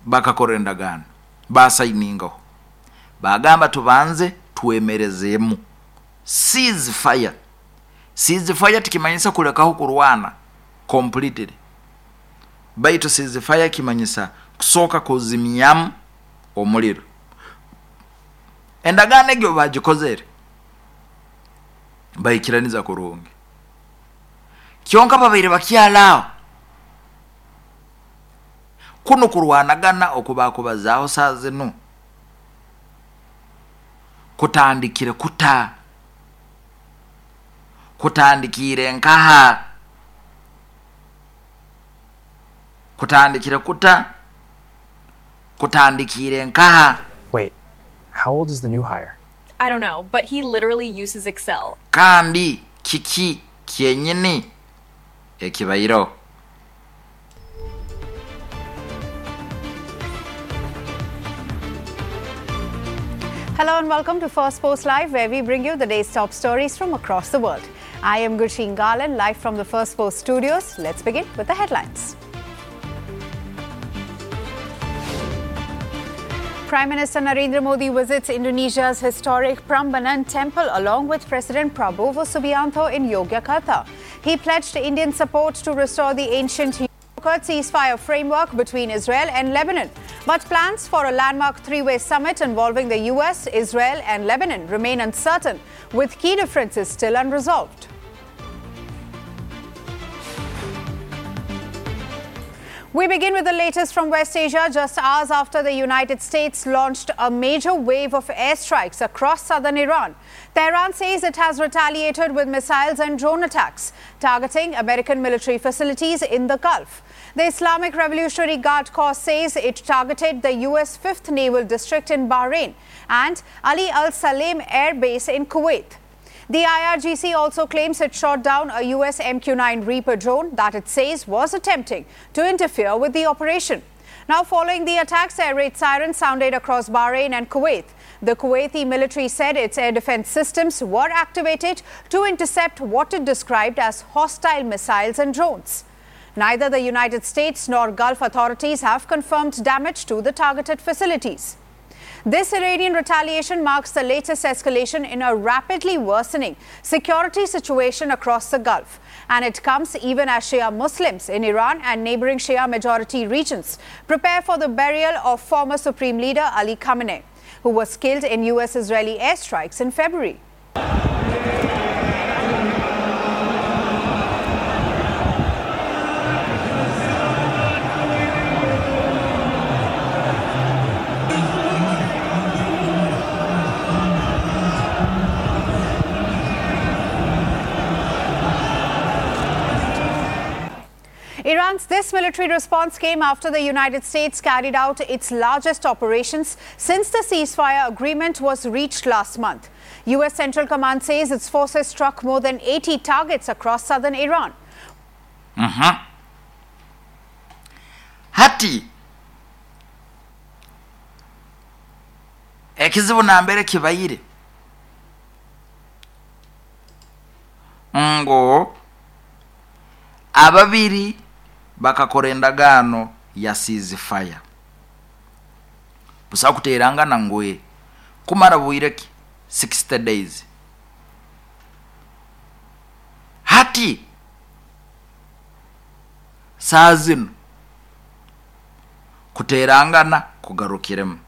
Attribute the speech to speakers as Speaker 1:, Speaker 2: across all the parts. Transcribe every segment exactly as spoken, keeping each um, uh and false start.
Speaker 1: Bakakora endagaano, basayiningaho, bagamba tubanze twemerezeemu ceasefire. Ceasefire tikimanyisa kulekaho kurwana completely, baitu ceasefire kimanyisa kusooka kuzimyamu omuliro. Endagaano egyo bagikozere baikiraniza kurungi, kyonka babaire bakyalaaho kuno kurwanagana okubakubazaaho saa zinu kutandikire kuta, kutandikire nkaha, kutandikire kuta, kutandikire nkaha.
Speaker 2: Wait, how old is the new hire?
Speaker 3: I don't know, but he literally uses Excel.
Speaker 1: Kandi kiki kyenyini ekibaireho?
Speaker 4: Hello and welcome to First Post Live, where we bring you the day's top stories from across the world. I am Gursheen Garland, live from the First Post studios. Let's begin with the headlines. Prime Minister Narendra Modi visits Indonesia's historic Prambanan Temple along with President Prabowo Subianto in Yogyakarta. He pledged Indian support to restore the ancient ceasefire framework between Israel and Lebanon. But plans for a landmark three-way summit involving the U S, Israel and Lebanon remain uncertain, with key differences still unresolved. We begin with the latest from West Asia, just hours after the United States launched a major wave of airstrikes across southern Iran. Tehran says it has retaliated with missiles and drone attacks, targeting American military facilities in the Gulf. The Islamic Revolutionary Guard Corps says it targeted the U S fifth Naval District in Bahrain and Ali Al-Salem Air Base in Kuwait. The I R G C also claims it shot down a U S M Q nine Reaper drone that it says was attempting to interfere with the operation. Now, following the attacks, air raid sirens sounded across Bahrain and Kuwait. The Kuwaiti military said its air defense systems were activated to intercept what it described as hostile missiles and drones. Neither the United States nor Gulf authorities have confirmed damage to the targeted facilities. This Iranian retaliation marks the latest escalation in a rapidly worsening security situation across the Gulf. And it comes even as Shia Muslims in Iran and neighboring Shia majority regions prepare for the burial of former Supreme Leader Ali Khamenei, who was killed in U S-Israeli airstrikes in February. Iran's this military response came after the United States carried out its largest operations since the ceasefire agreement was reached last month. U S Central Command says its forces struck more than eighty targets across southern Iran.
Speaker 1: Mm-hmm. Hati ekizibu nambere kibayire ngo ababiri bakakora endagaano ya ceasefire busa kuterangana ngwe kumara bwireki sixty days. Hati saa zino kuterangana kugarukiremu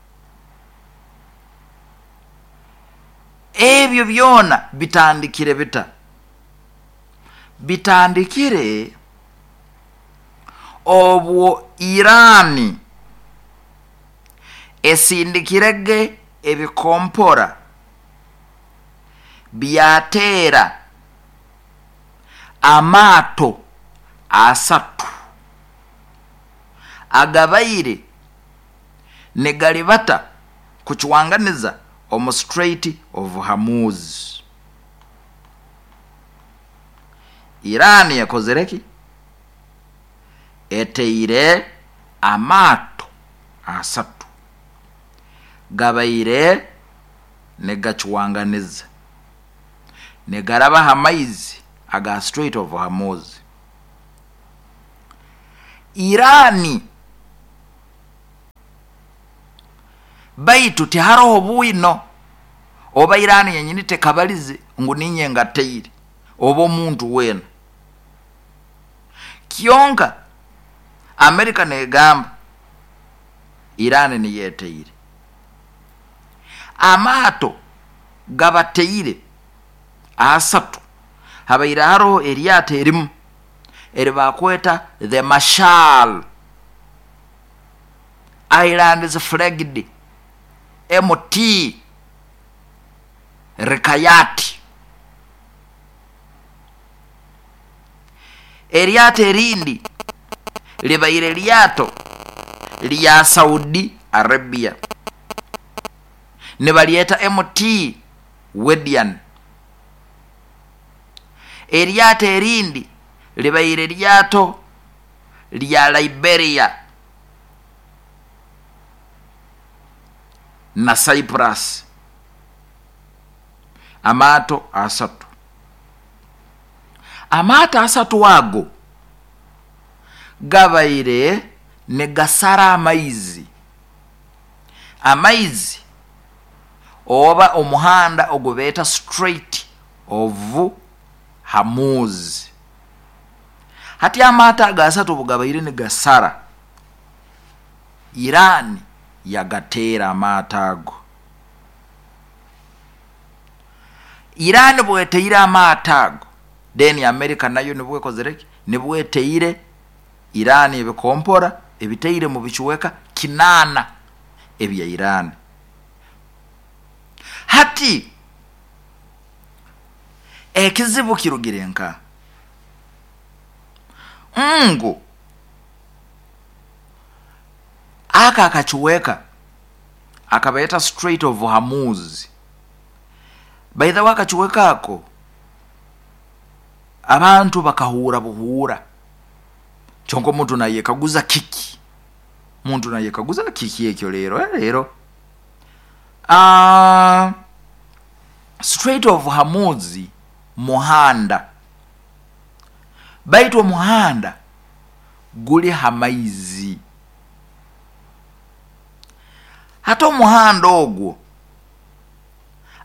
Speaker 1: ebyo byona bitandikire bita bitandikire obwo Irani esindikirege ebikompora byatera amato asatu agabaire negalibata kuchwanganiza omu Strait of Hormuz. Irani yakozereki eteire amato asatu gabaire negachwanganiza negaraba hamaizi aga Strait of Hormuz. Irani Baitu tiharoho bwino oba Irani yenyini tekabalize ngu ninye ngateire oba omuntu weena. Kyonka Amerika negamba Irani niyeteire. Amaato gabateire asatu, habaire haroho eryato erimu eribakweta the Marshall Islands flagged M T Rikayati. Eryato erindi libaire lyato lya Saudi Arabia nibalyeta M T Wedian. Eryato erindi libaire lyato lya Liberia na Cyprus. Amaato asatu. Amaato asatu ago gabaire negasara amaizi. Amaizi oba omuhanda ogubeta Strait of Hormuz. Hati amaato aga asatu bugabaire negasara, Iran yagateera amaato ago. Iran bweteire amaato ago, then America nayo nibwekozereki, nibweteire Iran ebikompora ebiteire mu bicuweka kinana ebya Iran. Hati ekizibu kirugire nka ngu aka akacuweka akabaeta Strait of Hormuz. By the way, akacuweka ako abantu bakahura buhura. Chonko muntu naye kaguza kiki, muntu naye kaguza kiki ekyo lero lero. Ah, Strait of Hormuz muhanda, baitu muhanda guli hamaizi. Hata omuhanda ogwo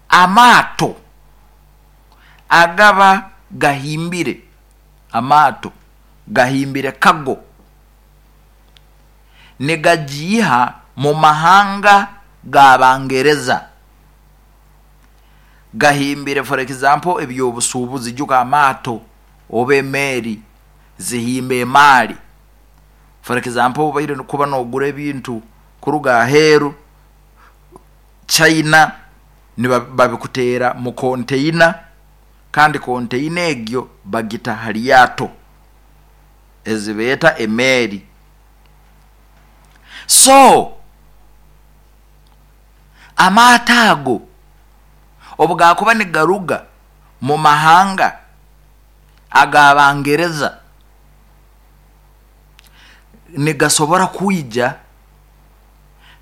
Speaker 1: amaato agaba gahimbire, amaato gahimbire kago negajiha mu mahanga g'Abangereza. Gahimbire for example ebyobusuubuzi, juga amaato oba emeri zihimba emali. For example obaire kuba nogura ebintu kuruga aheeru China, babikutera mu container, kandi container egyo bagita haliyato ezibeta emeri. So amaato ago obugakuba nigaruga mu mahanga ag'Abangereza nigasobora kwija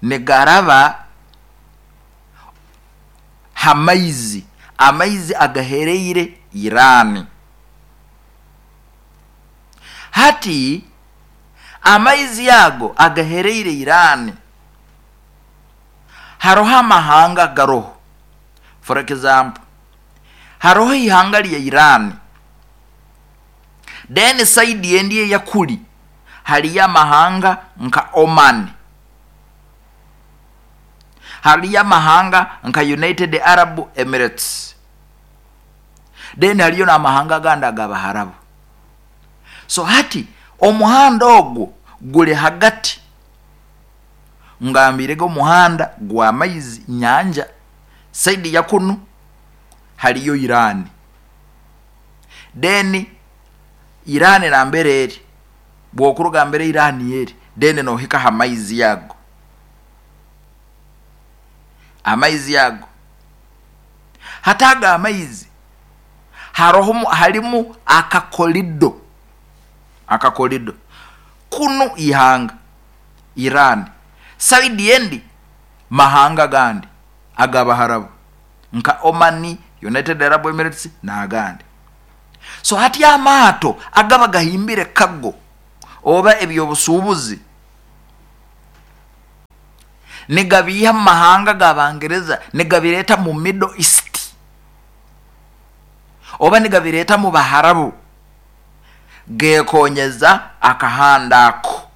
Speaker 1: nigaraba hamaizi, amaizi agahereire Irani. Hati amaizi yago agahereire Irani, haroho amahanga garoho. For example, haroho ihanga lya Irani, then side endi yakuli haliyo amahanga nka Oman, haliyo amahanga nka United Arab Emirates, then haliyo n'amahanga gandi ag'Abaharabu. So hati omuhanda ogwo guli hagati, ngambirege omuhanda gwa maizi nyanja, side ya kunu haliyo Irani, then Irani nambere eri bwokuruga mbere Irani eri, then nohika ha maizi yago, amaizi yago hataga amaizi haroho halimu akakolido, akakolido kunu ihanga Irani, side endi mahanga gandi ag'Abaharabu nka Omani, United Arab Emirates n'agandi. So hati amaato agaba gahimbire kago oba ebyobusuubuzi Nigabiiha mu mahanga g'Abangereza nigabireeta mu Middle East oba nigabireeta mu Baharabu, geekonyeza akahanda ako.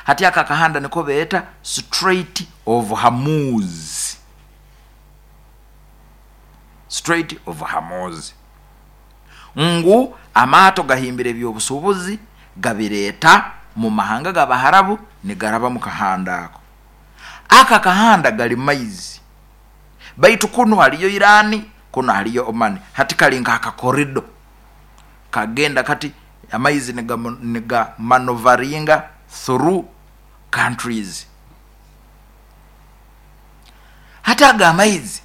Speaker 1: Hati aka akahanda niko beeta Strait of Hormuz. Strait of Hormuz, ngu amaato gahimbire ebyobusuubuzi gabireeta mu mahanga g'Abaharabu nigaraba mu kahanda ako. Aka kahanda gali maizi, baitu kunu haliyo Irani, kuno haliyo Omani. Hati kali nk'akakorido kagenda kati amaizi niga, niga manovaringa through countries. Hati aga amaizi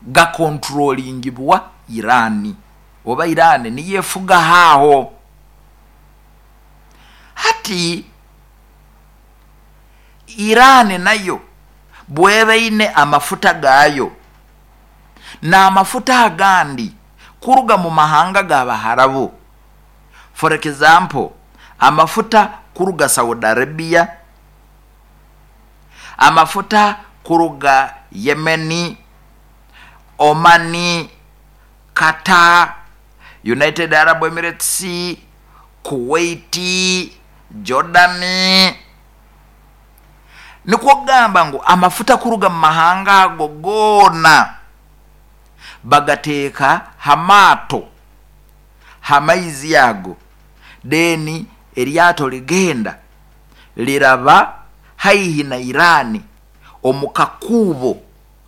Speaker 1: gakontrolingibwa Irani, oba Irani niyefuga haho. Hati Irani nayo bwebaine amafuta gayo n'amafuta agandi kuruga mu mahanga g'Abaharabu. For example, amafuta kuruga Saudi Arabia, amafuta kuruga Yemeni, Omani, Qatar, United Arab Emirates, Kuwait, Jordani. Nikwo kugamba ngu amafuta kuruga mu mahanga ago goona bagateeka hamato hamaizi ago, deni eryato ligenda liraba haihi na Irani omukakubo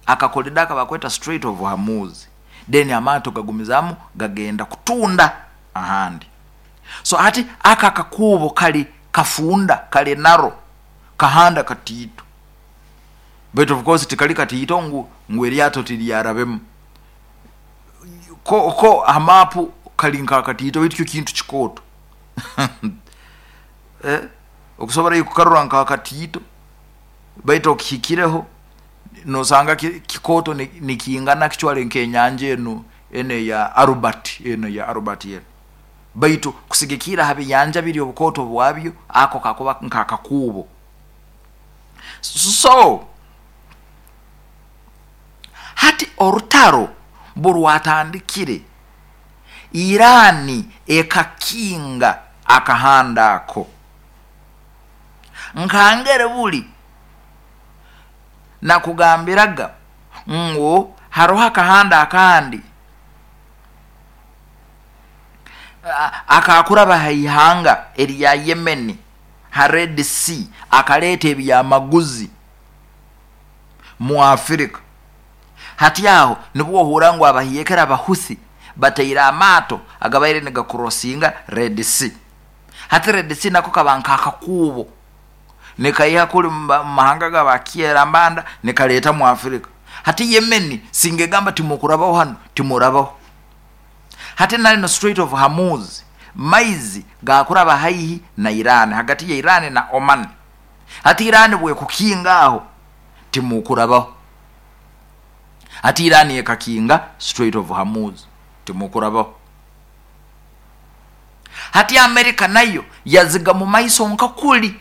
Speaker 1: akakolidaka bakweta Strait of Hormuz, deni amato gagumizamu gagenda kutunda ahandi. So hati aka kakubo kali kafunda kali naro kahanda katiito, but of course tikali katiito ngu ngu eryato tiryarabemu ko ko amapu kali nka katiito baitu kyo kintu kikooto. Eh, okusobora kukarura nka katiito baitu okihikireho nosanga kikoto nikiingana kichwale nk'enyanja eno ene ya Albert, eno ya Albert eno, baitu kusigikira habiyanja biri obukoto bwabyo ako kakuba nk'akakubo. So hati orutaro burwatandikire, Irani ekakinga akahanda ako. Nkangere buli nakugambiraga ngu haroho akahanda akandi akakuraba haihanga erya Yemeni ha Red Sea, akaleeta ebyamaguzi mu Afrika. Hati aho nibwo ohura ngu abahiyekera Abahuthi bataire amaato agabaire nigakurosinga Red Sea. Hati Red Sea nako kaba nk'akakubo nikaiha kuli mu mahanga g'abakiera mbanda nikaleeta mu Afrika. Hati Yemeni singegamba timukurabaho hano, timurabaho. Hati nali no Strait of Hormuz maizi gakuraba haihi na Irani, hagati ya Irani na Oman. Hati Irani bwe kukinga aho timukurabaho. Hati Irani ekakinga Strait of Hormuz timukurabaho. Hati Amerika nayo yaziga mu maiso nkakuli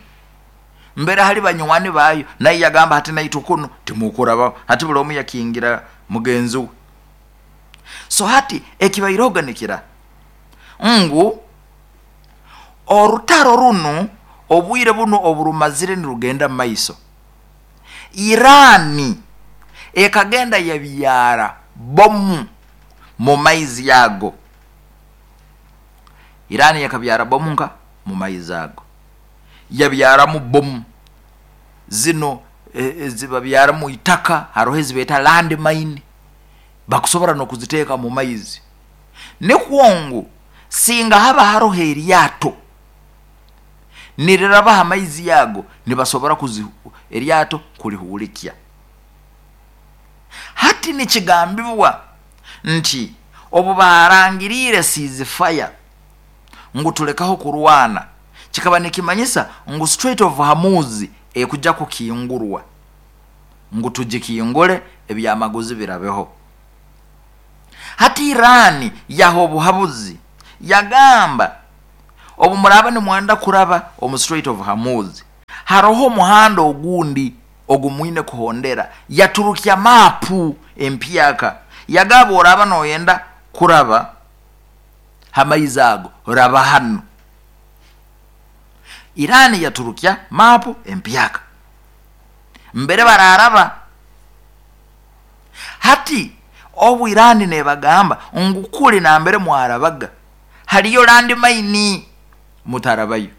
Speaker 1: mbere hali banywani bayo, nayo yagamba hati naito kuno timukurabaho. Hati buli omu yakingira mugenzi we. So hati ekibairoganikira ngu orutaro runo obwire buno oburumazire nirugenda maiso, Irani ekagenda yabyara bomu mu maizi yago. Irani yakabyara bomu nka mu maizi ago, yabyaramu bomu zino e, zibabyara mu itaka, haroho ezibeta land mine bakusobora nokuziteeka mu maizi. Nikwongu singa haba haroho eryato nirirabaha amaizi yago nibasobora kuzi eryato kulihulikia. Hati nikigambibwa nti obu barangirire ceasefire ngu tulekaho kurwana, kikaba nikimanyisa ngu Strait of Hormuz ekujja kukingurwa ngu tugikingure ebyamaguzi birabeho. Hati Irani yaho obuhabuzi yagamba obu muraba nimwenda kuraba omu Strait of Hormuz, Haroho omuhanda ogundi ogumwine kuhondera. Yaturukya mapu empyaka, yagaba oraba noyenda kuraba hamaizi ago raba hano. Irani yaturukya mapu empyaka mbere bararaba. Hati obu Irani nebagamba ngu kuli nambere mwarabaga haliyo landmine mutarabayo,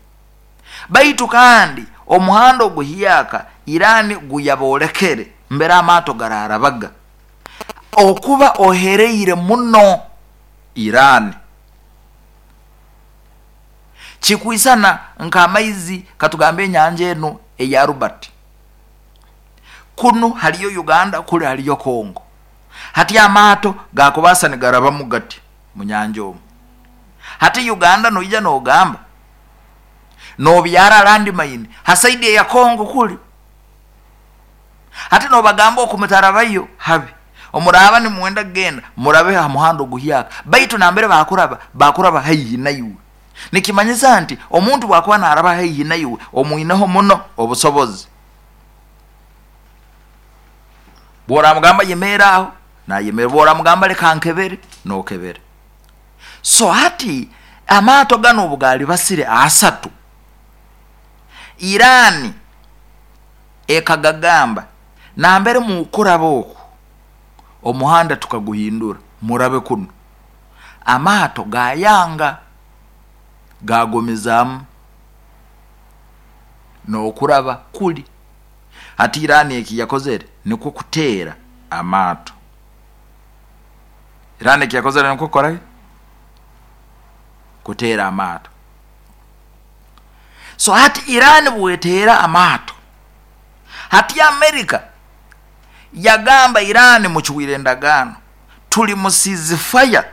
Speaker 1: baitu kandi omuhanda oguhiyaka Irani guyabolekere mbere amato gararabaga okuba ohereire muno Irani. Kikwisana nk'amaizi katugambe enyanja eno eya Rubati, kunu haliyo Uganda, kuli haliyo Kongo. Hati amato gakubasa nigarabamu gati munyanja omu. Hati Uganda noija nogamba nobyara landmine hasaidi ya Kongo kuli, hati nobagamba okumutarabayo habi omuraba nimwenda kugenda murabe ha muhanda oguhyaka, baitu nambere bakuraba bakuraba haihi naiwe. Nikimanyisa nti omuntu bwakuba naraba haihi naiwe omwineho muno obusobozi. Bworamugamba yemera aho nayemera, bworamugamba leka nkebere nokebere. So hati amato gano obugali basire asatu, Irani ekagagamba nambere mukuraba oku omuhanda tukaguhindura murabe kuno. Amato gayanga gagomezamu nokuraba kuli. Hati Irani eki yakozere nikwo kuteera amato. Irani eki yakozere nikwo kukora kuteera amato. So hati Irani bweteera amato, hati Amerika yagamba Irani muchwire endagaano, tuli mu ceasefire,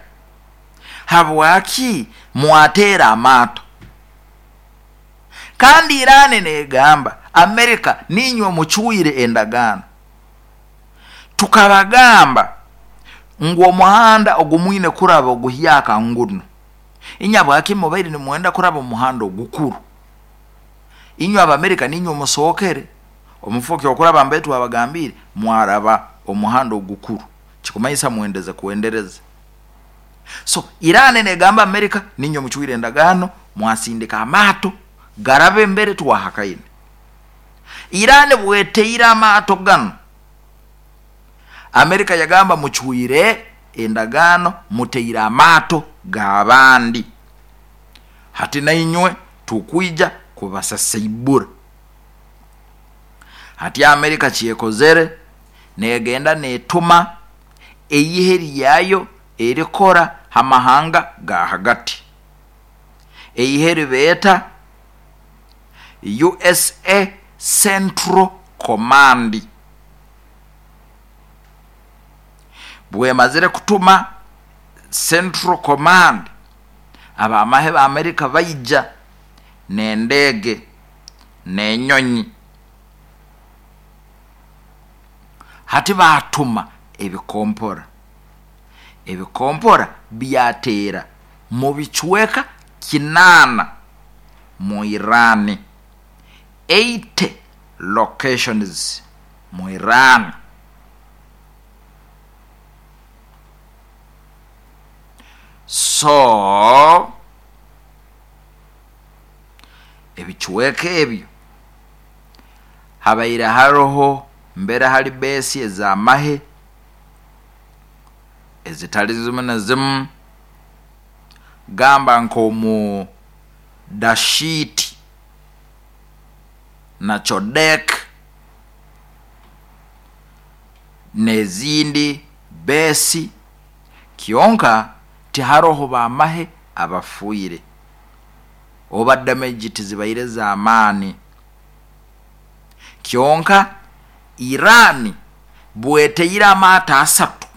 Speaker 1: habwaki mwatera amato? Kandi Irani negamba Amerika ninywe muchwire endagaano, tukabagamba ngu omuhanda ogumwine kuraba oguhyaka nguno, inyabwaki mubaire nimwenda kuraba omuhanda ogukuru? Inywe Abamerika ninywe musookere omufuki okuraba mbetu abagambire mwaraba omuhanda ogukuru, kikumanyisa mwendeze kuendereza. So Irani negamba Amerika ninywe muchwire endagaano, mwasindika amato garabe mbere twahakaine. Irani bweteire amato gano, Amerika yagamba muchwire endagaano, muteire amato g'abandi, hati nainywe tukwija kubasasaibura. Hati Amerika kyekozere negenda netuma eyihe lyayo erikora hamahanga ga hagati, eyihe ribeeta U S A Central Command. Bwemazire kutuma Central Command, abamahe ba Amerika baija n'endege n'enyonyi. Hati batuma ebikompora, ebikompora byatera mu bicweka kinana mu Irani, eight locations mu Irani. So ebicweka ebyo habaire haroho mbere hali besi ez'amahe ezitali zimu na zimu, gamba nk'omu Dashiti na Chodek n'ezindi besi, kyonka tiharoho bamahe abafuire oba damage tizibaire z'amaani. Kyonka Irani bweteire amato asatu,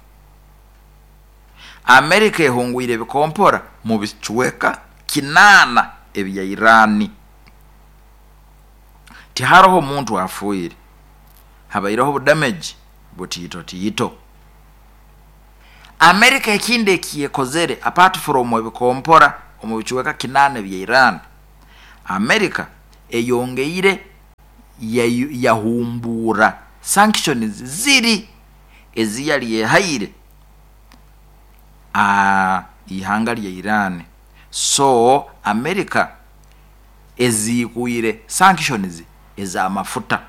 Speaker 1: Amerika ehungwire ebikompora mu bicweka kinana ebya Irani. Tiharoho omuntu afuire, habaireho budamage butiito tiito. Amerika ekindi ekyekozere apart from ebikompora omu bicweka kinana ebya Irani, Amerika eyongeire Yahumbura sanctions ziri eziyali yehaire a ihanga lya Iran. So America ezikuire sanctions ez'amafuta,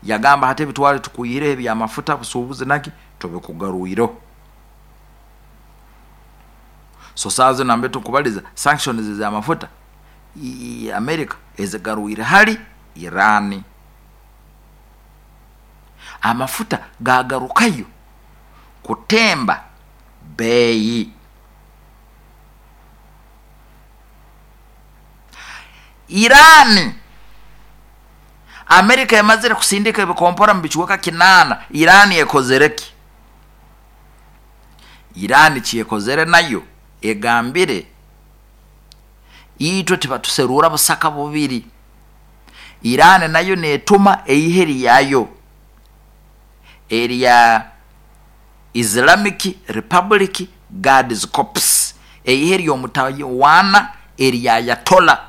Speaker 1: yagamba hati ebitwale tukuire ebyamafuta busuubuzi naki tubikugarwiro. So saazo nambe tukubaliza sanctions ez'amafuta America ezigarwire hali Iran. Amafuta gagarukayo kutemba bei. Iran Amerika yamazire kusindika ebikompora mu bichweka kinana. Iran ekozereki? Iran kyekozere nayo egambire itwe tibatuserura busaka bubiri. Iran nayo netuma eiheri yayo erya Islamic Republic Guards Corps, eiheri y'omutawana erya Ayatollah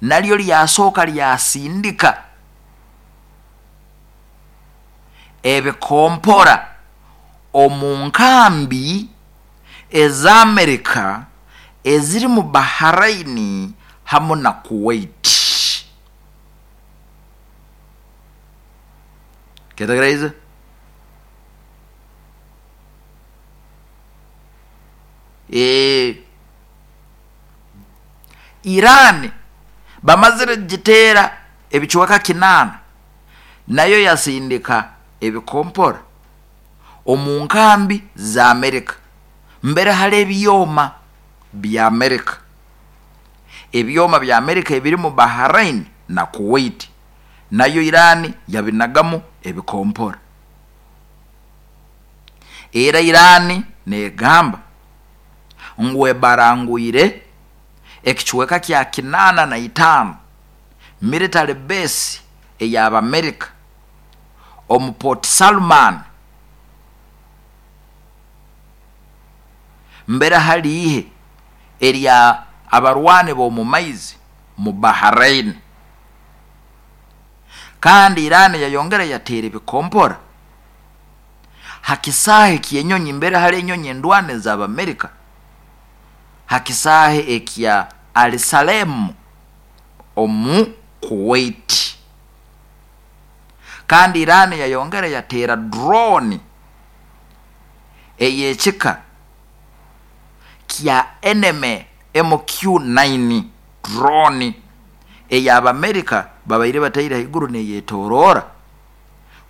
Speaker 1: nalyo lyasooka lyasindika ebikompora omu nkambi ez'Amerika eziri mu Bahrain hamu na Kuwait. Kyetegereza? E Iran bamazire gitera ebichweka kinana nayo yasindika ebikompora omu nkambi za Amerika mbere hali ebyoma bya Amerika. Ebyoma bya Amerika ebiri mu Bahrain na Kuwait nayo Iran yabinagamu ebikompora. Era Iran negamba ngwe barangwire ekichweka kya kinana na itano military base eyaba America omu Port Salman mbere halihe erya abarwane bo mu maizi mu Bahrain. Kandi Iran yayongera yatera ebikompora hakisahe kyenyonyi mbere hali enyonyi endwane za Amerika hakisahe ekya Al Salem omu Kuwait. Kandi Iran yayongera yatera drone eyechika kya enemy M Q nine drone eyaba Amerika babaire bataire haiguru neyetorora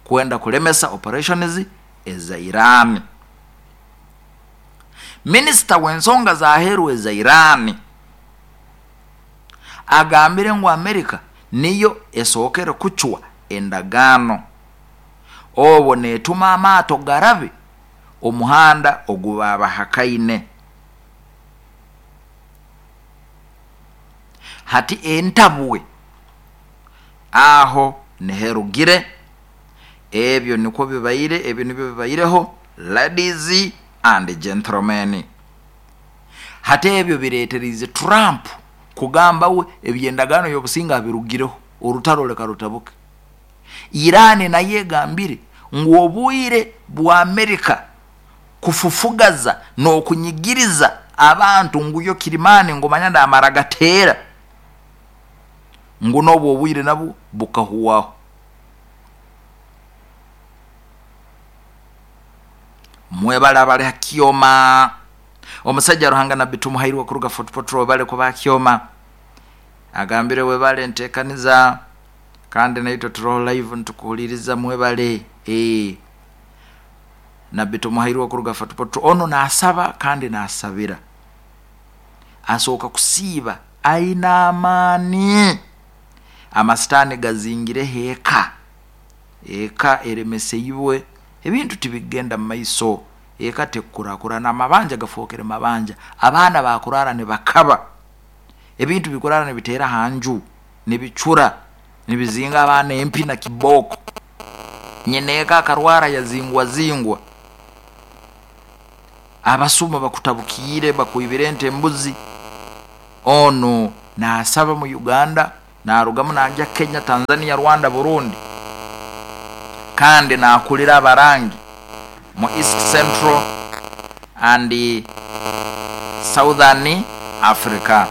Speaker 1: kwenda kulemesa operations eza Iran. Minister w'ensonga za aheru eza Iran agambire ngu Amerika niyo esokere kuchwa endagano obwo netuma amaato garabe omuhanda ogubabahakaine. Hati entabwe aho neherugire ebyo niko bibaire, ebyo nibyo bibaireho ladies and gentlemen. Hati ebyo bireeterize Trump kugamba we ebyendagano y'obusinga birugireho orutaro leka rutabuke. Iran naye egambire ngu obwire bwa Amerika kufufugaza n'okunyigiriza abantu nguyo kirimani ngomanya ndamara gatera ngu n'obwo obwire nabwo bukahuwaho. Mwebala bali hakioma omusajja Ruhanga Nabbi Tumuhairwa kuruga Fort Portal bale kuba kioma agambire webale ntekaniza kandi naitwe turoho live ntukuhuliriza mwebale eh Nabbi Tumuhairwa kuruga Fort Portal ono nasaba kandi nasabira asoka kusiba aina amani amasitani gazingire heka eka eremeseyibwe ebintu tibigenda maiso eka tekurakurana mabanja gafokere mabanja abaana bakurara ne bakaba ebintu bikurara ne bitera hanju ne bichura ne bizinga abaana empi na kiboko nyeneka akarwara yazingwa zingwa abasuma bakutabukire bakuibirente embuzi. Ono nasaba mu Uganda Narugamu najya Kenya, Tanzania, Rwanda, Burundi, kandi nakulira abarangi mu East Central and Southern Africa.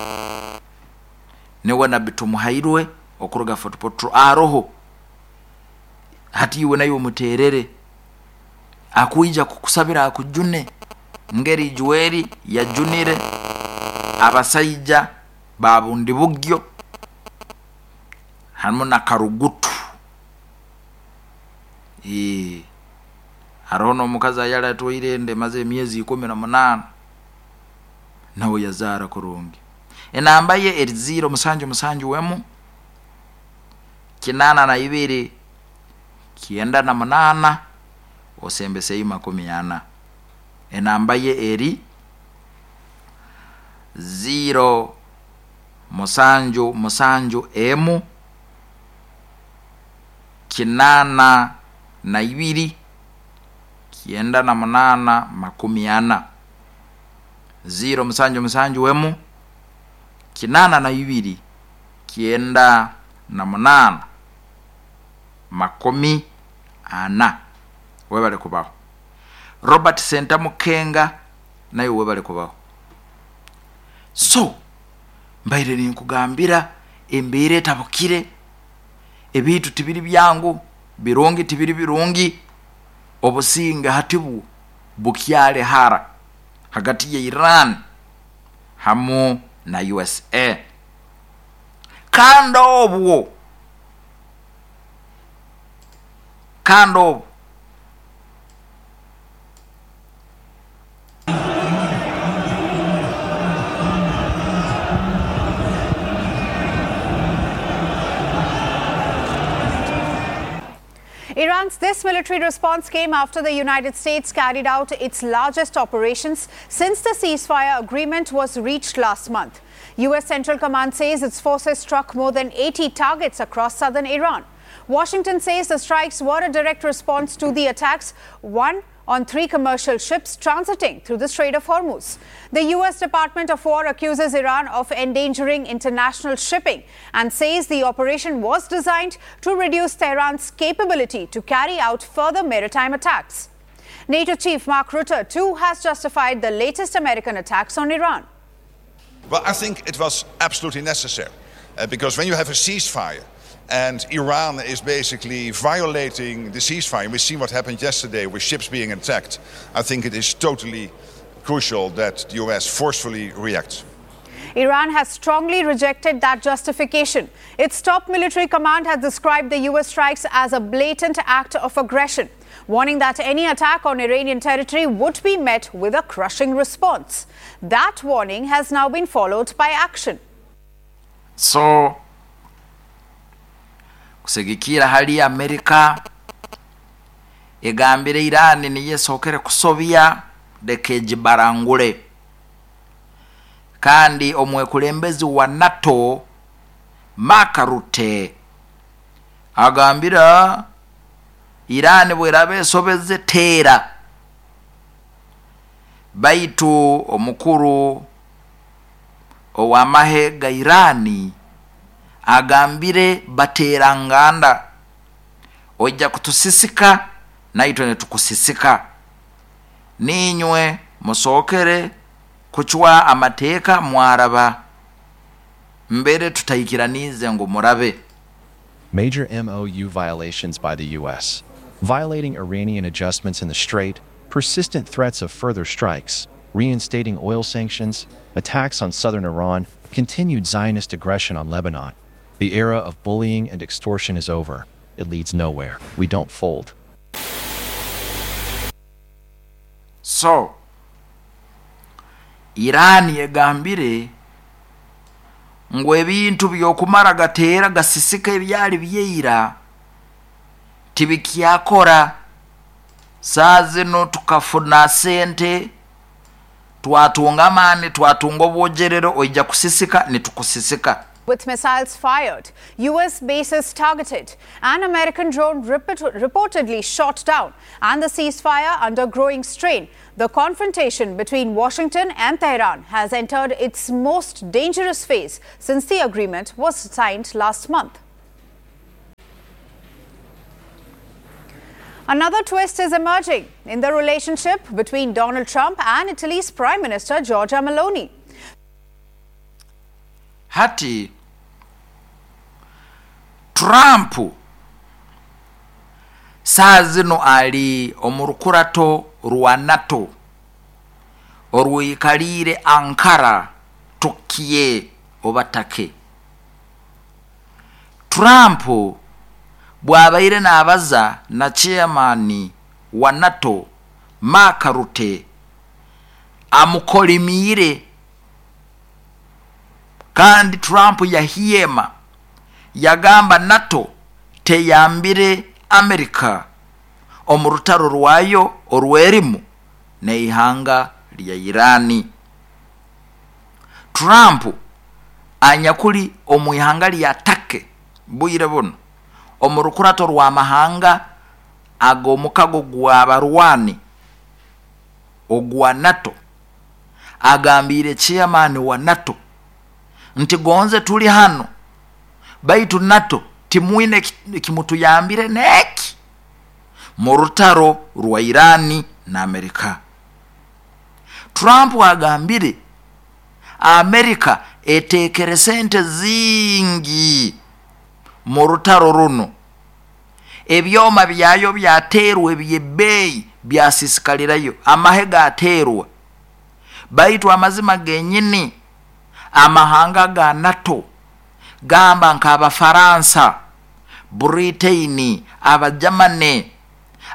Speaker 1: Niwe Nabbi Tumuhairwe okuruga Fort Portal aroho hati iwe nayo muterere akuija kukusabira akujune ngeri juweri yajunire abasaija babundi bugyo harimu na Karugutu. Eh, hariho n'omukazi ayali atwaire ende maze emyezi ikumi na munaana nawe yazaara kurungi. Enamba ye eri ziro musanju musanju wemu kinana na ibiri kienda na munana osembesei makumi ana. Enamba ye eri ziro musanju musanju emu kinana na ibiri kienda na munana makumi ana. Ziro musanju musanju wemu kinana na ibiri kienda na munana makumi ana. Webale kubaho. Robert Senta Mukenga naye webale kubaho. So mbaire ninkugambira embeera etabukire, ebintu tibiri byangu, birungi tibiri birungi, obusinga hatibu bukyale hara hagati ya Iran hamu na U S A. Kando obwo kando obwo
Speaker 4: Iran's this military response came after the United States carried out its largest operations since the ceasefire agreement was reached last month. U S Central Command says its forces struck more than eighty targets across southern Iran. Washington says the strikes were a direct response to the attacks, one on three commercial ships transiting through the Strait of Hormuz. The U S Department of War accuses Iran of endangering international shipping and says the operation was designed to reduce Tehran's capability to carry out further maritime attacks. NATO chief Mark Rutte, too, has justified the latest American attacks on Iran.
Speaker 5: Well, I think it was absolutely necessary uh, because when you have a ceasefire and Iran is basically violating the ceasefire, we've seen what happened yesterday with ships being attacked, I think it is totally crucial that the U S forcefully reacts.
Speaker 4: Iran has strongly rejected that justification. Its top military command has described the U S strikes as a blatant act of aggression, warning that any attack on Iranian territory would be met with a crushing response. That warning has now been followed by action.
Speaker 1: So, kusegikira hali ya Amerika egambire Iran niye sokere kusobya dekejibarangule. Kandi omwekulembezi wa NATO Mark Rutte agambira Iran bwerabe sobeze tera. Baitu omukuru owamahe ga Irani agambire bateranganda, ojja kutusisika naitwe netukusisika, ninywe musokere kuchwa amateeka mwaraba mbere tutaikiranize ngo murabe.
Speaker 6: Major M O U violations by the U S, violating Iranian adjustments in the Strait, persistent threats of further strikes, reinstating oil sanctions, attacks on southern Iran, continued Zionist aggression on Lebanon. The era of bullying and extortion is over. It leads nowhere. We don't fold.
Speaker 1: So, Iran yegambire ngo ebintu byokumara gateera gasisika ebyali byeira tibikyakora. Saa zino tukafuna sente, twatunga amaani, twatunga obwogerero, oija kusisika nitukusisika.
Speaker 4: With missiles fired, U S bases targeted, an American drone reportedly shot down, and the ceasefire under growing strain. The confrontation between Washington and Tehran has entered its most dangerous phase since the agreement was signed last month. Another twist is emerging in the relationship between Donald Trump and Italy's Prime Minister Giorgia Meloni.
Speaker 1: Hati Trump saa zino ali omu rukurato rwa NATO orwikaliire Ankara, Turkiye oba Turkey. Trump bwabaire n'abaza na chairman wa NATO Mark Rutte amukolimiire, kandi Trump yahiema yagamba NATO teyambire Amerika omu rutaro rwayo orwerimu n'eihanga lya Irani. Trump anyakuli omu ihanga lya Turkey bwire buno omu rukurato rwa mahanga ag'omukago gw'abarwani ogwa NATO agambire chairman wa NATO nti gonze tuli hano baitu NATO timwine kimutuyambire neki mu rutaro rwa Irani na Amerika. Trump agambire Amerika etekere sente zingi mu rutaro runo, ebyoma byayo byaterwa ebyebbeeyi byasisikalirayo, amahe gaterwa, baitu amazima genyini amahanga ga NATO gamba nk'Abafaransa, Britain, Abajamane,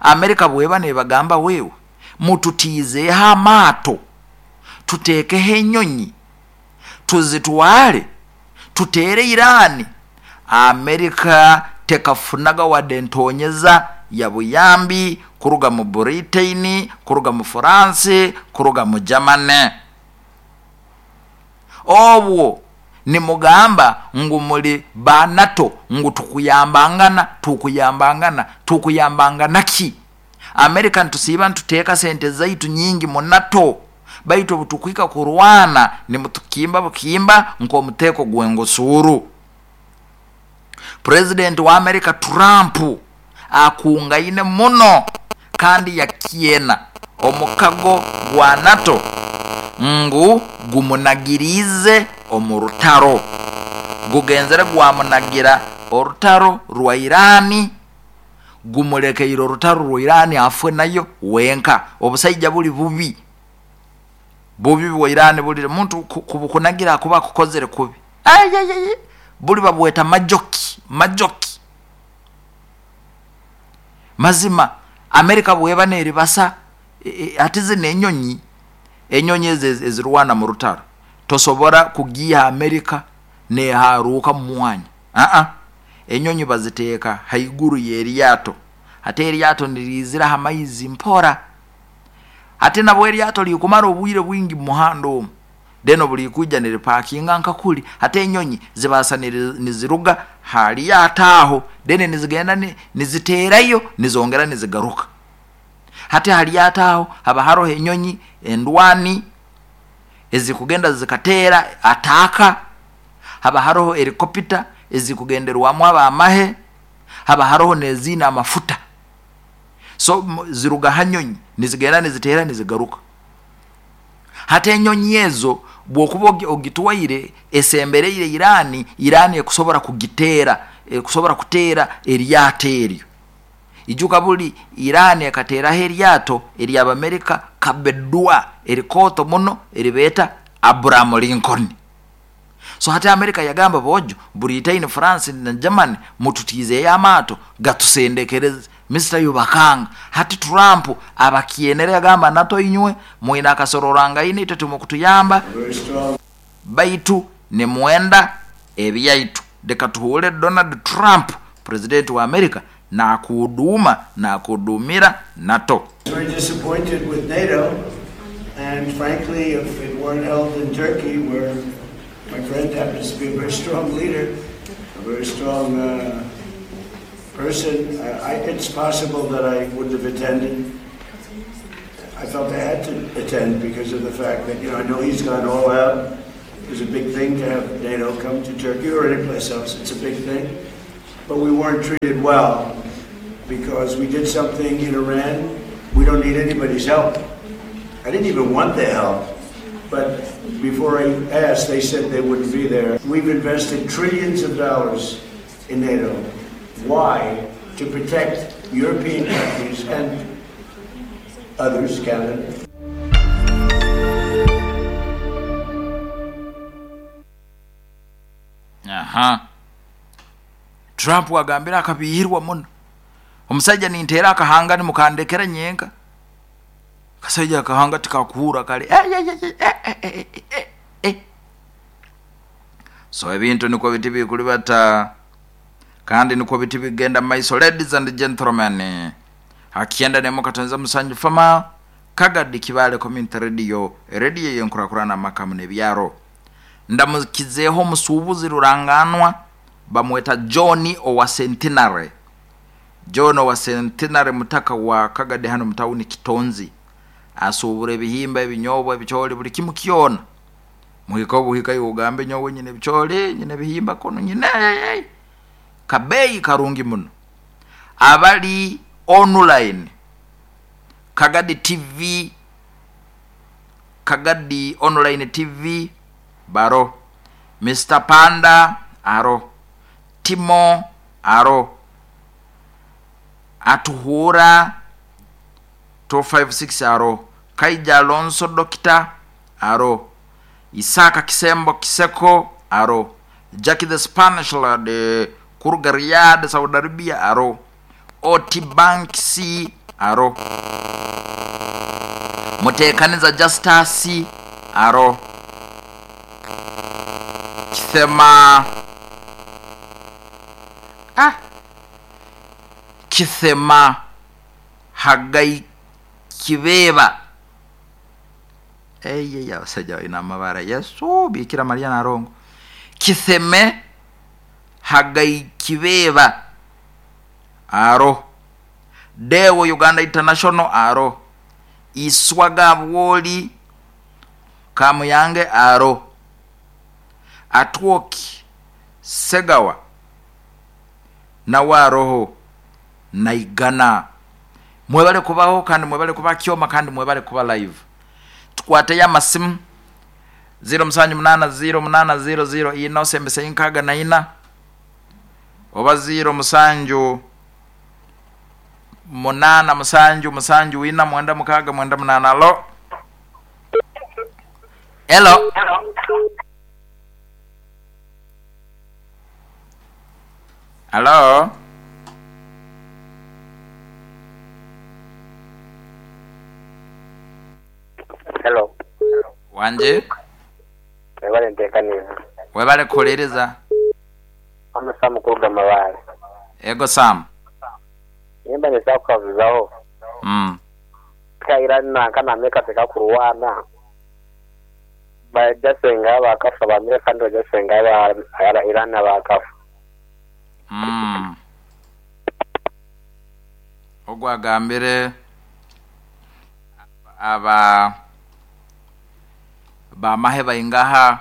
Speaker 1: Amerika bweba nebagamba wewe mututiizeeho amaato, tuteekeho enyonyi tuzitwale tutere Irani. Amerika tekafunaga wadde ntonyeza ya buyambi kuruga mu Britain, kuruga mu France, kuruga mu Germany. Obwo nimugamba ngu muli ba NATO ngu tukuyambangana tukuyambangana tukuyambangana ki? Amerika ntusiiba ntuteeka sente zaitu nyingi mu NATO, baitu obutukwika kurwana nimutukimba bukimba nk'omuteeko gw'engosuru. President wa America Trump akungaine muno kandi yakiena omukago gwa NATO ngu gumunagirize omu rutaro, gugenzere gwamunagira orutaro rwa Irani, gumulekeire orutaro rwa Irani afwe nayo wenka. Obusaija buli bubi bubi bwa Irani buli muntu kubukunagira kuba kukozere kubi, ayayay, buli babweta majoki majoki. Mazima Amerika bweba neribasa e, e, ati zino enyonyi enyonyi ezirwana mu rutaro tosobora kugiha Amerika neharuka mu mwanya. A-a, enyonyi baziteeka haiguru y'eryato, ate eryato nirizira hamaizi mpora, ate nabwo eryato likumara obwire bwingi mu muhanda omwo, deno buli kuja niripakinga nkakuli, ate enyonyi zibasa niziruga hali ataho dene nizigenda niziterayo nizongera nizigaruka. Hate hali ataho haba haroho enyonyi endwani ezikugenda zikatera ataka, haba haroho helikopita ezikugenderwamu abamahe, haba haroho nezina amafuta. So ziruga hanyonyi nizigenda nizitera nizigaruka. Hate enyonyi ezo bwokuba ogitwaire esembereire Irani, Irani ekusobora kugitera, ekusobora kutera eryato eryo. Ijuka buli Irani ekateraho eryato ery'Abamerika kabedwa erikoto muno eribeta Abraham Lincoln. So hata Amerika yagamba bojo Britain, France na Germany mututize amato gatusendekereze Mister Yubakanga. Hati Trump abakienere yagamba NATO inywe mwina akasororanga ine itwe tumukutuyamba baitu ne mwenda ebyaitu. Deka tuhure Donald Trump president wa Amerika na kuduma na kudumira NATO.
Speaker 7: Very disappointed with NATO, and frankly if it weren't held in Turkey where My friend happens to be a very strong leader, a very strong uh, person. I, I, it's possible that I wouldn't have attended. I felt I had to attend because of the fact that, you know, I know he's gone all out. It was a big thing to have NATO come to Turkey or any place else. It's a big thing. But we weren't treated well because we did something in Iran. We don't need anybody's help. I didn't even want their help. But before I asked, they said they wouldn't be there. We've invested trillions of dollars in NATO. Why? To protect European countries and others, Canada.
Speaker 1: Aha. Trump agambira akabihirwa muno. Omusajja ninteera akahanga nimukandekera nyenka. Kasajja akahanga tikakuhura kale. Eh, eh, eh, eh, eh, eh, eh. So ebintu niko biti bikulibata kandi niko biti bigenda maiso. Ladies and gentlemen, akienda nemo katonza musanju fama Kagadi Kibale Community Radio, radio yenkurakurana makamu nebyaro. Ndamukizeho musubuzi ruranganwa bamweta John owa Centenary. John owa Centenary mutaka wa Kagadi hano mtauni Kitonzi. Asubure ebihimba ebinyobwa ebicholi buli kimu kyona. Muhika obuhika yugambe nyowe nyine ebicholi nyine ebihimba kono nyine kabeyi karungi muno. Abali online Kagadi T V, Kagadi Online T V baro, Mister Panda aro, Timo aro, Atuhura two five six aro, Kaija Alonso Dokita aro, Isaka Kisembo Kiseko aro, Jackie the Spanish Lad Kuruga Riyadh Saudi Arabia aro, Oti Bank C aro, Mutekaniza Justus aro, Kithema ah Kithema Hagai Kibeba. Eye ya saja ina mabara Yesu Bikira Maria na Rongo. Kitheme Hagai Kibeba aro, Dewo Uganda International aro, Iswaga Woli Kamuyange aro, Atwoki Segawa nawa roho naigana. Mwebale kubaho kandi mwebale kuba kyoma kandi mwebale kuba live. Tukwate ya masimu zero musanju munana zero munana zero zero ina osembese inkaga na ina oba zero musanju munana musanju musanju ina mwenda mukaga mwenda munana. Alo. Hello. Hello.
Speaker 8: Hello.
Speaker 1: Wanje?
Speaker 8: Webale ntekaniriza.
Speaker 1: Webale kulereza.
Speaker 8: Ama Sam kuruga Mabale.
Speaker 1: Ego Sam.
Speaker 8: Nimba nisa kukavuzaho.
Speaker 1: Mm.
Speaker 8: Ka Iran na kana Amerika tekakuruwana. Bajasenga bakafa ba Amerika ndo bajasenga ba Iran bakafa.
Speaker 1: Mm. Ogwagambire aba bamahe baingaha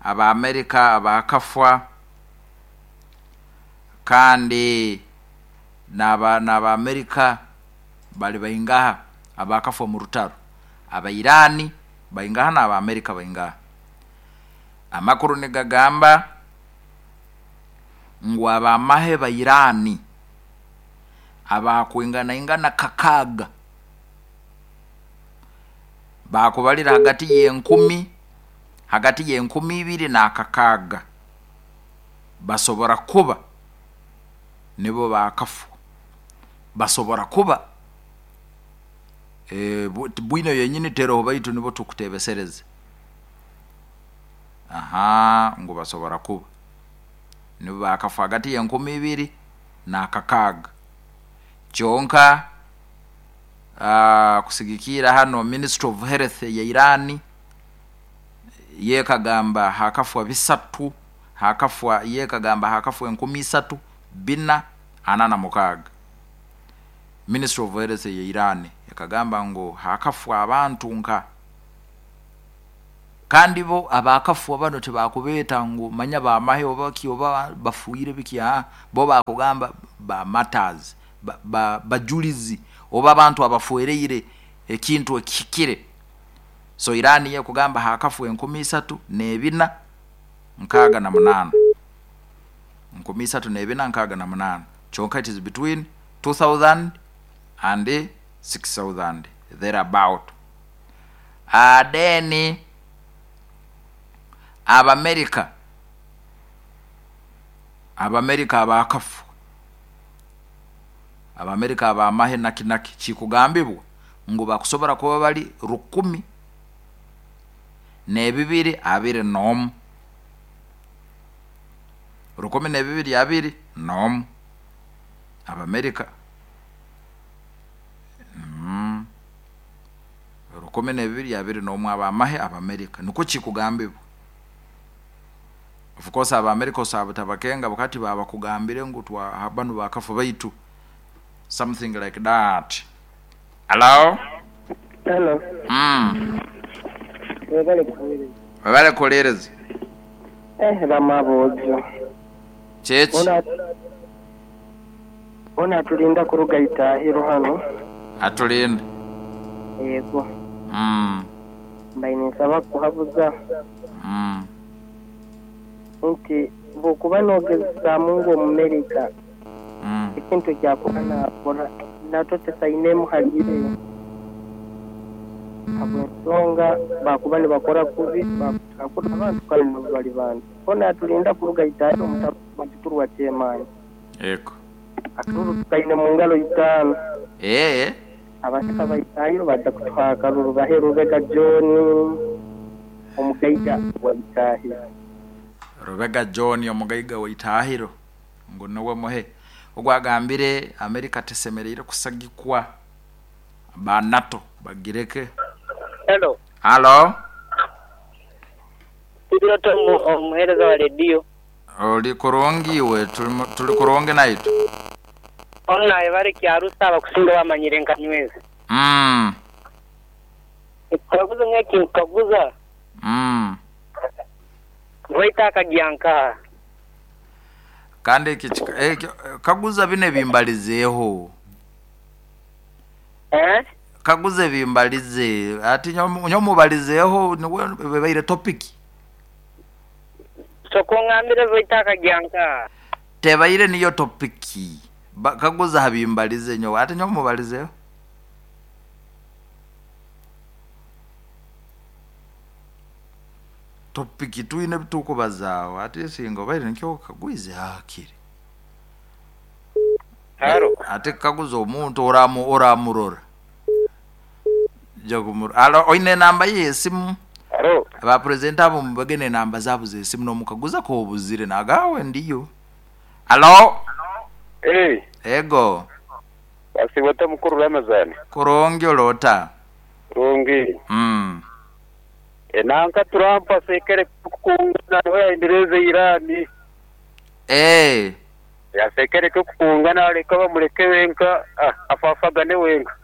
Speaker 1: aba Amerika abakafwa kandi naba naba Amerika bali baingaha abakafwa mu rutaro, aba Irani baingaha na aba Amerika baingaha. Amakuru nigagamba ngu abamahe ba Irani abakwingana ingana kakaga bakubalira hagati y'enkumi hagati y'enkumi ibiri na kakaga basobora kuba nibo bakafu basobora kuba e, bwino yenyini tero baitu nibo tukutebesereze. Aha, ngo basobora kuba nibo bakafu hagati y'enkumi ibiri na kakaga. Kyonka uh, kusigikira hano Ministry of Health ya Irani Yekagamba hakafwa bisatu, hakafwa yekagamba hakafwa enkumi isatu bina ana na mukaaga. Ministry of Health ya Iran yakagamba ngo hakafwa abantu nka kandi bo abakafwa bano tebakubeta ngo manya bamahe oba ki oba bafuire biki, ah bo bakugamba ba matters ba, ba bajulizi oba abantu abafuereire ekintu ekikire. So Iran ye kugamba hakafwa enkumi isatu nebina nkaga na munana, enkumi isatu nebina nkaga na munana. Chonka it is between two thousand and six thousand thereabout. Adeni Abamerika, Abamerika abakafu, Abamerika abamahe nakinaki kikugambibwa ngu bakusobora kuba bali rukumi nebibiri abiri nomu, rukumi nebibiri abiri nomu Abamerika. Mm. Rukumi nebibiri abiri nomu abamahe Abamerika niko kikugambibwa. Of course Abamerika osaba tabakenga wakati baba kugambire ngu twa habanu bakafu baitu, something like that. Hello?
Speaker 8: Hello.
Speaker 1: Mm.
Speaker 8: Webale kulereza.
Speaker 1: Webale kulereza.
Speaker 8: Eh, bamabojo.
Speaker 1: Chechi.
Speaker 8: Ona Ona tulinda kuruga itahiro hano.
Speaker 1: Atulinda.
Speaker 8: Yego.
Speaker 1: Mm.
Speaker 8: Mbaine nsaba kuhabuza.
Speaker 1: Mm.
Speaker 8: Nti bokuba nogeza Mungu Amerika.
Speaker 1: Mm.
Speaker 8: Ekintu kyakuba nakora nato tesaine muhalire. Habwensonga bakuba nibakora kubi bakora abantu kandi bali bantu. Ona tulinda kuruga itahiro mutabaturwa kyemani.
Speaker 1: Yego.
Speaker 8: Akalulu tukaine mu ngalo itaano.
Speaker 1: Eh.
Speaker 8: Abaseka baitahiro bajja kutuha akalulu bahe Rubega John omugaiga wa Itahiro.
Speaker 1: Rubega John omugaiga wa Itahiro ngo niwe muhe. Ogwagambire Amerika tesemereire kusagikwa ba NATO bagireke.
Speaker 9: Hello.
Speaker 1: Hello.
Speaker 9: Tuliota omuhereza wa radio.
Speaker 1: Oli kurungi we tuli kurungi naitu.
Speaker 9: Ona ebare kyarusa abakusinga bamanyire nkanyweza.
Speaker 1: Mm.
Speaker 9: Kaguza ngeki kaguza.
Speaker 1: Mm.
Speaker 9: Voita kagyanka.
Speaker 1: Kandi iki eh, kaguza bine bimbalizeho.
Speaker 9: Eh?
Speaker 1: Kaguze bimbalize ati nyomubalizeho niwe bebaire topic.
Speaker 9: Soko ngambire voita kagyanka.
Speaker 1: Tebaire niyo topic. Ba, kaguza habimbalize nyo ati nyomubalizeho. Topic tuine bitukubazawo ati singo baire nikyo kagwize hakiri.
Speaker 9: Haro
Speaker 1: ate kaguza omuntu oramu oramurora. Jagumur. Alo oine namba yesimu.
Speaker 8: Haro
Speaker 1: aba president abo mubagene namba zabo zesimu no mukaguza ko obuzire nagawe ndiyo. Alo.
Speaker 8: Eh.
Speaker 1: Ego.
Speaker 8: Basibota mukuru Ramazani.
Speaker 1: Kurungi olota.
Speaker 8: Rungi.
Speaker 1: Mm.
Speaker 8: Enanka Trump asekere kukungana nawe Irani.
Speaker 1: Eh.
Speaker 8: Yasekere kukungana aleka bamuleke wenka afafagane wenka.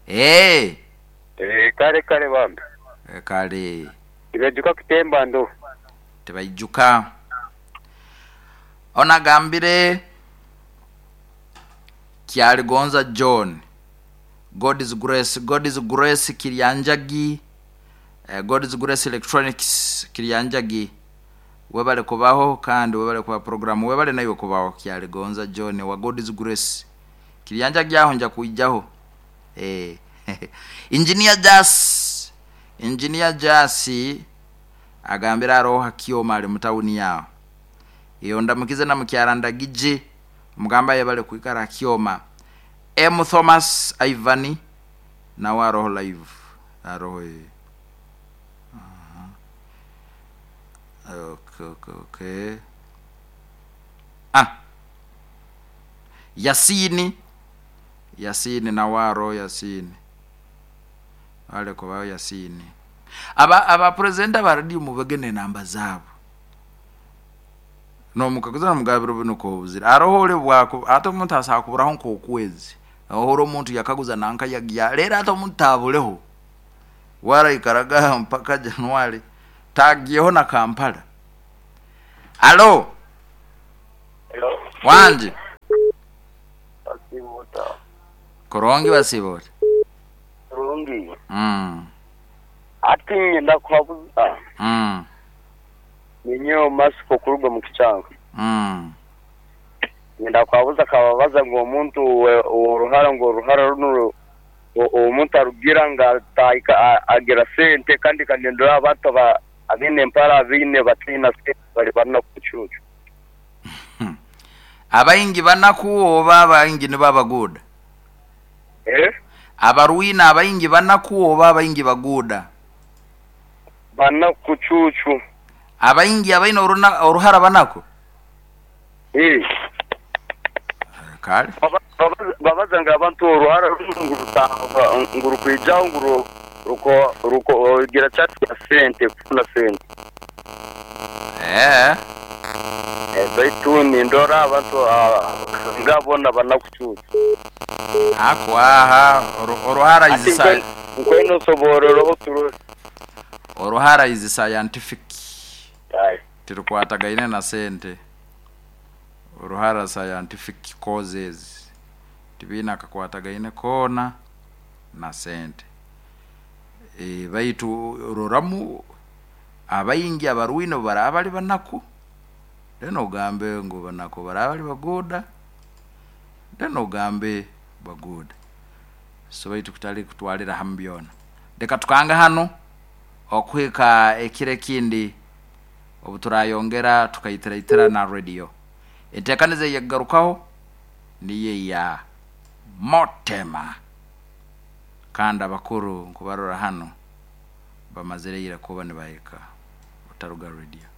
Speaker 1: Eh.
Speaker 8: Eh kare kare bambe.
Speaker 1: E kare.
Speaker 8: Ibejuka kutemba ndo.
Speaker 1: Tebaijuka. Ona gambire Kyaligonza John. God is grace, God is grace Kiryanjagi. Uh, God is Grace Electronics Kiryanjagi. Webale kubaho kandi webale kuba program webale nayo kubaho Kyaligonza John wa God is Grace Kiryanjagi aho nja kuijaho. Eh Engineer Jas Engineer Jasi agambira aroha kioma ali mutauni yao. Iyo ndamukize na mukyarandagije mugamba yebale kuikara kioma. M Thomas Ivani na waroho live aroho. Okay, okay, okay. Ah. Yasini. Yasini na waro Yasini. Wale kwa Yasini. Aba abapresenta ba radio mubagene namba zabo. Nomukaguza nomugabiro bino kobuzira. Aroho ole bwako ate omuntu asakuburaho nkokwezi. Ohoro omuntu yakaguza nanka yagya. Lera ate omuntu tabuleho. Wara ikaraga mpaka Januari. Tagiyeho na Kampala. Alo.
Speaker 8: Hello.
Speaker 1: Wanje.
Speaker 8: Basibota.
Speaker 1: Korongi basibota.
Speaker 8: Korongi.
Speaker 1: Mm.
Speaker 8: Ati ngenda kuhabuza.
Speaker 1: Mm.
Speaker 8: Ninyo masiko kuruga mu kichanga.
Speaker 1: Mm.
Speaker 8: Ngenda kuhabuza kababaza ngo omuntu oruhara ngo oruhara runo omuntu arugira nga taika agira sente kandi kanendora abantu ba abine empara abine batina sente bali bana kuchuchu.
Speaker 1: Abaingi banaku oba abaingi ni babaguda.
Speaker 8: Eh?
Speaker 1: Abaruina abaingi banaku oba abaingi baguda.
Speaker 8: Bana kuchuchu.
Speaker 1: Abaingi abaina oruna oruhara banako.
Speaker 8: Eh.
Speaker 1: Kale.
Speaker 8: Babaza nga abantu oruhara ngurutanga ngurukwijaho nguru ruko ruko gira chat ya sente kufuna sente.
Speaker 1: Eh.
Speaker 8: Eh baitu ndora abantu ngabona banakuchuchu.
Speaker 1: Akwaha oruhara is science.
Speaker 8: Nkweno soborero oturo.
Speaker 1: Oruhara is scientific.
Speaker 8: Aye.
Speaker 1: Tirukwatagaine na sente. Oruhara scientific causes. Tibina kakwatagaine kona na sente. E baitu roramu abayingi abaruino barabali banaku. Deno gambe ngo banako barabali bagoda. Deno gambe bagoda. So baitu kutali kutwalira hambyona. Deka tukanga hano okwika ekire kindi obuturayongera tukaitiraitira na radio. Entekanize yagarukaho niye ya Motema. Kandi abakuru nkubarora hano bamazire ira kuba nibahika otaruga radio.